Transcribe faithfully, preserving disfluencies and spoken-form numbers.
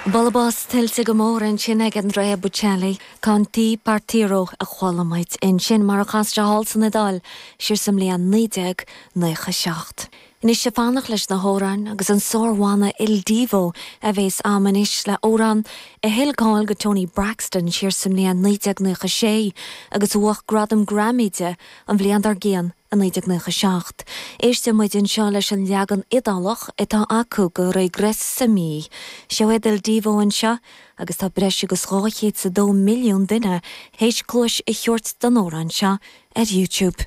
Bualadh bos tuillte go mór ansin ag Andrea Bocelli, Con te partirò a chuala muid ansin mar a chas sé thall san Iodáil siar sa mbliain naoi déag nócha seacht. Anois ag fanacht leis na hamhráin agus an sárbhanna Il Divo a bhéas am anois le amhrán a thuill cáil do Toni Braxton siar sa mbliain naoi déag nócha sé agus a bhuaigh gradam Grammy di an bhliain dár gcionn i naoi déag nócha seacht. Éistfidh muid anseo leis an leagan Iodálach atá acu de Regressami. Seo iad Il Divo anseo agus tá breis agus dhá chéad is a dó milliún duine théis cluas a thabhairt don amhrán seo ar YouTube.